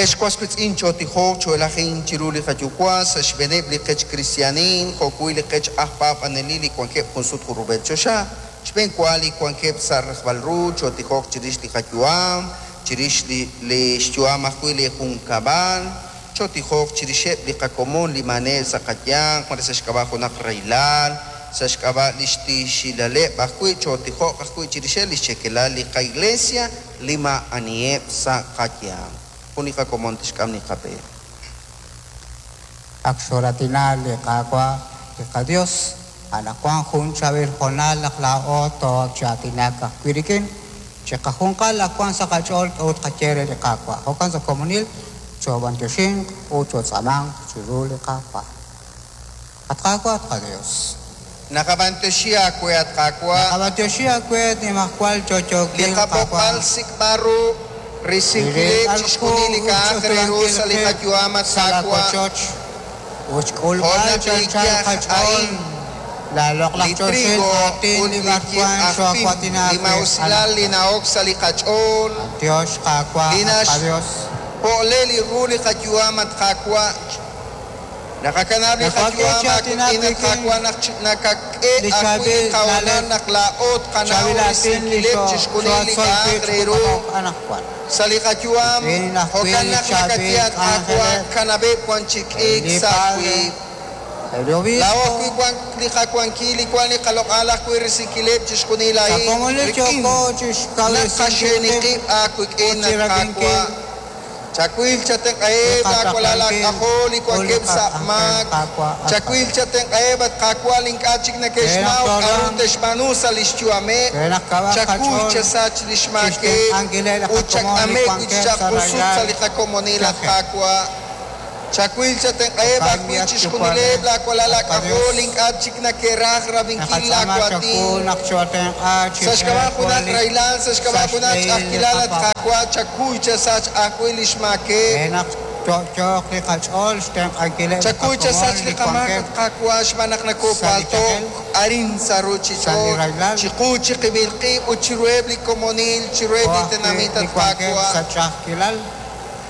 Ex was wiitz'in, chootijoq, choo'elajinq chiru li qaYuwa' sa' xb'eeneb' li qech kristiaanil jo'wi' li qech aj paab'anelil li wankeb' junsut junrub'el choxa, xb'enwa li wankeb' sa' rajb'al ru, chootijoq chirix li qayu'am, chirix li xyu'am ajwi' li junkab'al, chootijoq chirixeb' li qakomon li maa'aneb' sa' qayanq, mare sa' xk'ab'a' junaq rahilal, sa' xk'ab'a' li xtiixilaleb' ajwi', chootijoq ajwi' chirixeb' li xcheekelal li qaiglesia li maa'aniheb' sa' qayanq. Jun li qakomon tixk'am li qab'e. Ak xooratina li Qaawa' li qaYos, anaqwan jun chaab'il hoonal naq laa'o too'ok chi aatinak ajwi' rik'in. Chiqajunqal ak wank sa' qach'ool k'a'ut qaye re li Qaawa'. Jo'kan sa' komonil choob'anyoxinq ut chootz'aamanq chiru li Qaawa'. At Qaawa', at qaYos. Naqab'anyoxi aawe, at Qaawa'. Naqab'anyoxi aawe, at Nimajwal Li Yo'yookil qab'oqb'al Qaawa'. sik'b'al ru risinkileb' Li chixjunil li k'a'aq re ru sa' li qayu'am, at sa' Qaawa'. laawochoch ut Jo' xk'ulb'al naq chi li anchal yaj qach'ool a'in, laaloq'laj li choxil trigo aatin ut li li b'arwan yib' aj pim, xoo'awaatina li wi' maa'usilal li anaqwan. na'ok sa' li qach'ool, B'antiox, Qaawa', li at qaYos. naxpo'le li ru li qayu'am, at Qaawa'. Naqakanab' li Naqak'e qayu'am chi aatinak aawik'in, at rik'in Qaawa', naq nakak'e li ajwi' li chaab'il qahoonal na'leb', naq laa'o tqanaw chaab'il aatin li risinkileb' chixjunil li xoo'atzol k'a'aq wi' re ru ch'uutaqoq anaqwan. sa' li qayu'am. Rik'in ajwi' Jo'kan li naq chaab'il nakatye, at Qaawa', k'anjeleb', kanab'eb' wan chi k'iik li sa' Padre, wiib'. el Laa'o Obispo, ajwi' wank li qawankil, li wank li qaloq'al ajwi' risinkileb' chixjunil sa' a'in komonil rik'in yooko chixkawresinkil naq qib' qaxe'ni qib' ut aawik'in, chi at rab'inkil Qaawa'. Chawil li chatenq'aheb' laawalal qataqlankil aak'ajol li ut li wankeb' sa' qak'anjel maak. Qaawa' at Chawil qaYos. chatenq'aheb', at Qaawa', li ink'a' chik Re naq neke'xnaw k'aru tooruhanq, te'xb'aanu sa' li xyu'ameb'. re naq kawaq Chakuy qach'ool chasach li xmaakeb' chixtenq'ankileb' li ut qakomon li chak'ameb' wi' wankeb' chaq sa' jusut sa' rahilal li qakomonil, at yajel. Qaawa'. Chawil chatenq'aheb' Jo'kan ajwi' at chixjunileb' Yuwa'b'ej, laawalal at aak'ajol qaYos. li ink'a' chik neke'raj rab'inkil Naqatz'aama chawu laawatin. naq chootenq'a chi Sa' xk'ab'a' junaq junelik rahilal, sa' sa' xk'ab'a' junaq xb'ehil li ch'a'ajkilal, at qapaab'aal. Qaawa', chakuy chasach ajwi' li Re xmaakeb'. naq yo'yooq li qach'ool xtenq'ankileb' li Chakuy qakomon chasach li li qamaak, wankeb' at Qaawa', xb'aan naq sa' li nakopaalto'k yajel, arin sa' sa' li ruuchich'och', rahilal, chiqu chiqib'il qib' ut chiruheb' li komonil, chiruheb' jo' li ajwi' tenamit, li at wankeb' Qaawa'. sa' ch'a'ajkilal.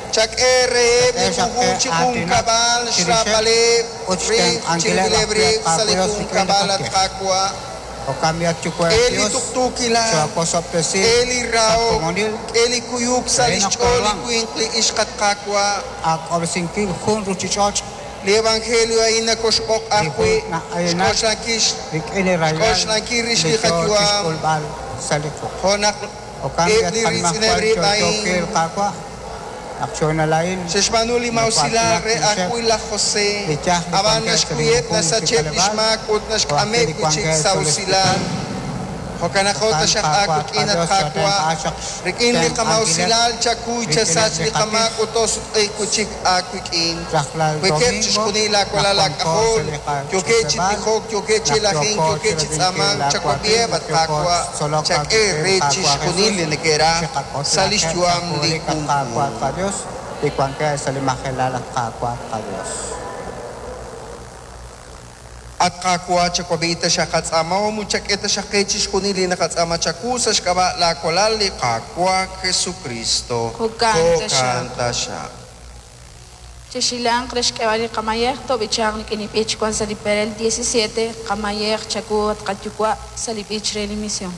Chak'e reheb' li Chak'e xaq junjunq qe chi aatinak junkab'al, chirixeb' xraab'aleb' ut rib', xtenq'ankileb' chirib'ileb' ajwi' at rib' sa' li Qaawa' Dios rik'in li junkab'al, at qatij. Qaawa'. Jo'kan b'i' at Yuwa'b'ej K'e li Dios, tuqtuukilal, chookosob'tesi k'e li sa' rahok, komonil k'e li kuyuk sa' re li naq xch'ool li tooruhanq winq li ixq, at Qaawa'. ak'ob'resinkil jun ruuchich'och' Li evangelio a'in nakoxb'oq li ajwi' jun na'aynak xk'oxlankil rik'in li rahilal xk'oxlankil rix li li yoo qayu'am. chixk'ulb'al sa' li quq'. Jo' naq Jo'kan b'i' eb' at li riitz'ineb' Qanimajwal rib' Yo'yookil a'in Qaawa', naq choonalain xe'xb'aanu li maa'usilal noko'aatinak re chirixeb' ajwi' laj José, li yaj li ab'an wankeb' sa' li naxkuyeb' junjunq chi nasacheb' li k'aleb'aal, xmaak ut jo' ajwi' naxk'ameb' li wi' chik wankeb' sa' sa' li usilal. hospital. Jo'kan naq Jo'kan taxaq Qaawa' at aawik'in, at qaDios, Qaawa', chootenq'a xaq rik'in li xtenq'ankileb' qamaa'usilal chakuy rik'ineb' chasach li li qatij. qamaak ut toosutq'iiq wi' chik aawik'in. Rajlal Wekeb' domingo chixjunil naq laawalal wanko sa' aak'ajol, li yookeb' chi qach'utleb'aal, tijok, yookeb' chi naq lajink, yooko yookeb' chi chirab'inkil tz'aamank, laawatin, chawab'iheb', naq at yooko Qaawa', chitzolok chak'e aawik'in re Qaawa' chixjunil Jesus, li neke'raj sa' li chiqak'oxlaqeb' sa' xyu'am li junelik at Qaawa' at junjunq. qaDios, li wankeb' sa' li majelal at Qaawa' at qaDios. At Qaawa', chawab'i taxaq qatz'aamahom ut chak'e taxaq qe chixjunil li naqatz'aama chawu sa' xk'ab'a' laawalal li Qaawa' Jesucristo. Jo'kan Jo'kan taxaq. taxaq. Chexilanq re xk'eb'al li qamayej toob'ichanq rik'in li b'ich wank sa' li perel 17, qamayej chawu at qayuwa' sa' li b'ich re li misión.